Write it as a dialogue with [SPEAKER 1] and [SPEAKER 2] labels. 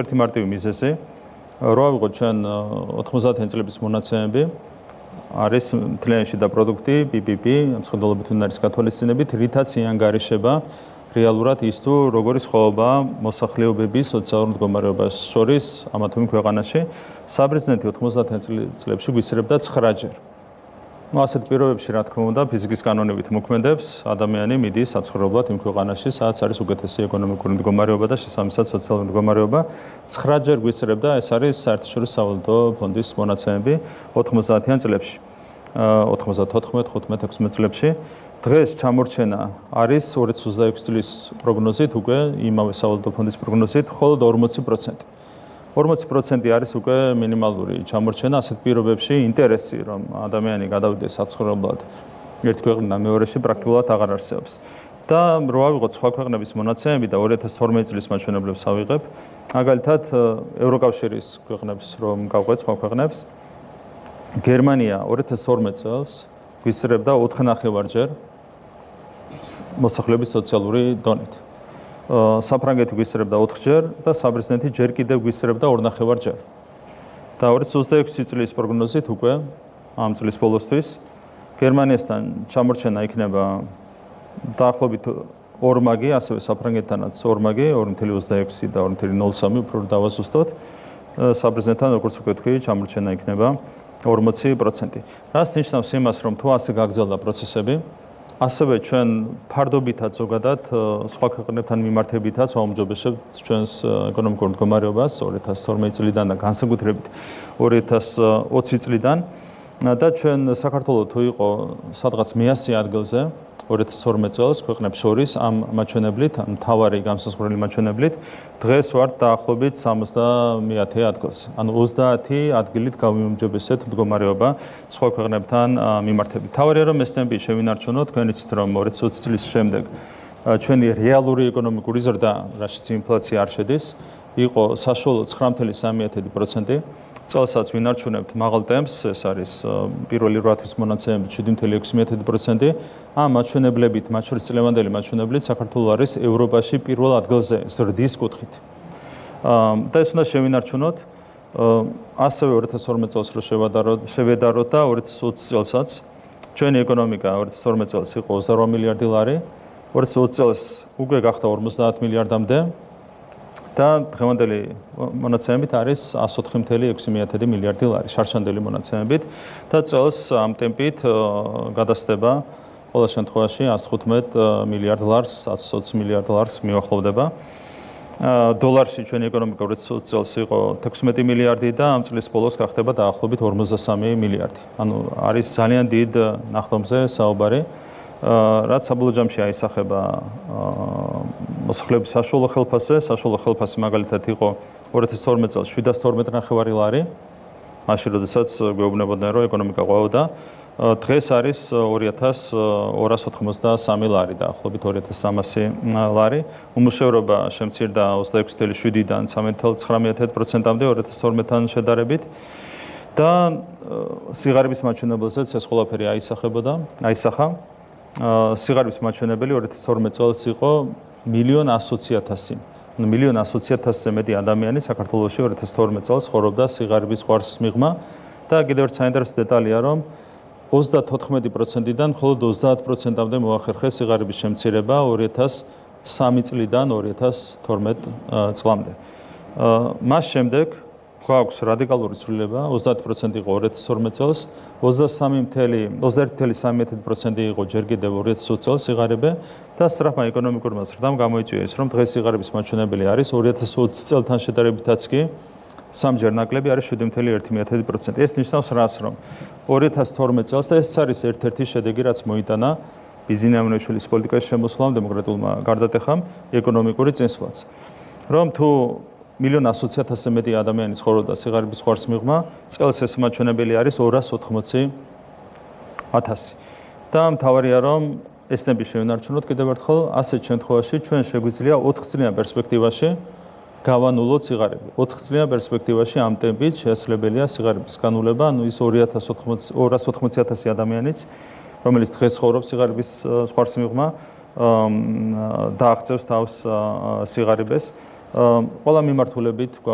[SPEAKER 1] ერთი მარტივი მიზეზი, რა ვიღოთ ჩვენ 90-იან წლების მონაცემები, არის მთლიანი შიდა პროდუქტი, BBP, მსხვერპლობით უნარის გათვალისწინებით, რითაც იანგარიშება რეალურად ის თუ როგორი სხვაობაა მოსახლეობების სოციალურ მდგომარეობას შორის ამა თუ იმ ქვეყანაში. საბერძნეთი 90-იან წლებში გვისწრებდა 9-ჯერ. ასეთ პირობებში, რა თქმა უნდა, ფიზიკის კანონებით მოქმედებს, ადამიანი მიდის საცხოვრებლად იმ ქვეყანაში, სადაც არის უკეთესი ეკონომიკური მდგომარეობა და შესაბამისად სოციალური მდგომარეობა. 9-ჯერ გვისწრებდა, ეს არის საერთაშორისო სავალუტო ფონდის მონაცემები 90-იან წლებში. 94, 15, 16 წლებში. დღეს ჩამორჩენა არის 2026 წლის პროგნოზით, უკვე იმავე სავალუტო ფონდის პროგნოზით, მხოლოდ 40%. 40% არის უკვე მინიმალური ჩამორჩენა ასეთ პირობებში ინტერესი რომ ადამიანი გადავიდეს საცხოვრებლად ერთ ქვეყნიდან მეორეში პრაქტიკულად აღარ არსებობს. და რო ავიღოთ სხვა ქვეყნების მონაცემები და 2012 წლის მაჩვენებლებს ავიღებ, მაგალითად ევროკავშირის ქვეყნებს რომ გავყვეთ სხვა ქვეყნებს, გერმანია 2012 წელს გვისწრებდა 4.5-ჯერ მოსახლეობის სოციალური დონით. საფრანგეთი გვისწრებდა 4-ჯერ და საბერძნეთი ჯერ კიდევ გვისწრებდა 2.5-ჯერ. და 2026 წლის პროგნოზით უკვე ამ წლის ბოლოსთვის გერმანიასთან ჩამორჩენა იქნება დაახლოებით ორმაგი, ასევე საფრანგეთთანაც ორმაგი, 2.26 და 2.03 უფრო დავაზუსტოთ. საბერძნეთთან როგორც უკვე თქვი, ჩამორჩენა იქნება 40%. რას ნიშნავს იმას, რომ თუ ასე გაგრძელდა პროცესები, ასევე ჩვენ ფარდობითად ზოგადად სხვა ქვეყნებთან მიმართებითაც აუმჯობესებთ ჩვენს ეკონომიკურ მდგომარეობას 2012 წლიდან და განსაკუთრებით 2020 წლიდან და ჩვენ საქართველოს თუ იყო სადღაც მე-100 ადგილზე 2012 წელს ქვეყნებს შორის ამ მაჩვენებლით, ამ მთავარი გამსაზღვრელი მაჩვენებლით, დღეს ვართ დაახლოებით 70 ადგილზე. ანუ 30 ადგილით გავიმჯობესეთ მდგომარეობა სხვა ქვეყნებთან მიმართებით. თავარია რომ ესნები შევინარჩუნოთ, თქვენ იცით რომ 2020 წლის შემდეგ ჩვენი რეალური ეკონომიკური ზრდა, რაშიც ინფლაცია არ შედის, იყო საშუალო 9.3%. წელსაც ვინარჩუნებთ მაღალ ტემპს, ეს არის პირველი 8 თვის მონაცემებით 7.6%. ამ მაჩვენებლებით, მათ შორის წლევანდელი მაჩვენებლით, საქართველოს არის ევროპაში პირველ ადგილზე ზრდის კუთხით. და ეს უნდა შევინარჩუნოთ. ასევე 2012 წელს რო შევედაროთ და 2020 წელსაც ჩვენი ეკონომიკა 2012 წელს იყო 28 მილიარდი ლარი, 2020 წელს უკვე გახდა 50 მილიარდამდე. და დღევანდელი მონაცემებით არის 104.6 მილიარდი ლარი შარშანდელი მონაცემებით და წელს ამ ტემპით გადასდება ყოველ შემთხვევაში 115 მილიარდ ლარს, 120 მილიარდ ლარს მიუახლოვდება. დოლარში ჩვენი ეკონომიკა 2020 წელს იყო 16 მილიარდი და ამ წლის ბოლოს გახდება დაახლოებით 53 მილიარდი. ანუ არის ძალიან დიდ ნახტომზე საუბარი. რაც საბოლოო ჯამში აისახება მოსახლეობის საშუალო ხელფასზე, საშუალო ხელფასი მაგალითად იყო 2012 წელს 712.5 ლარი, მაშინ როდესაც გვეუბნებოდნენ რომ ეკონომიკა ყვაოდა, დღეს არის 2283 ლარი, დაახლოებით 2300 ლარი. უმუშევრობა შემცირდა 26.7-დან 13.9%-მდე 2012-თან შედარებით. და სიღარიბის მაჩვენებელზეც ეს ყველაფერი აისახა. სიღარიბის მაჩვენებელი 2012 წელს იყო 1.120.000. 1.120.000-ზე მეტი ადამიანი საქართველოში 2012 წელს ცხოვრობდა სიღარიბის ყვარს მიღმა და კიდევ ერთ საინტერესო დეტალია, რომ 34%-დან მხოლოდ 30%-მდე მოახერხეს სიღარიბის შემცირება 2003 წლიდან 2012 წლამდე. მას შემდეგ გვაქვს რადიკალური ცვლილება, 30% იყო 2012 წელს, 21.3% იყო ჯერ კიდევ 2020 წელს სიღარიბე და სწრაფმა ეკონომიკურმა ზრდამ გამოიწვია ის, რომ დღეს სიღარიბის მაჩვენებელი არის 2020 წელთან შედარებითაც კი სამჯერ ნაკლები არის 7.1%. ეს ნიშნავს რას, რომ 2012 წელს და ეს არის ერთ-ერთი შედეგი, რაც მოიტანა ბიზნიამონიშვილის პოლიტიკაში შემოსვლამ დემოკრატიულმა გარდატეხამ ეკონომიკური წინსვლაც. რომ თუ 1.120.000-ზე მეტი ადამიანი ცხოვრობდა სიღარიბის ყვარს მიღმა, წელს ეს მაჩვენებელი არის 280.000. და მთავარია რომ ესნები შევინარჩუნოთ კიდევ ერთხელ, ასეთ შემთხვევაში ჩვენ შეგვიძლია 4 წლიან პერსპექტივაში გავანულოთ სიღარიბე. 4 წლიან პერსპექტივაში ამ ტემპით შესაძლებელია სიღარიბის განულება, ანუ ის 280.000 ადამიანიც, რომელიც დღეს ცხოვრობს სიღარიბის ყვარს მიღმა, დააღწევს თავს სიღარიბეს. ყველა მიმართულებით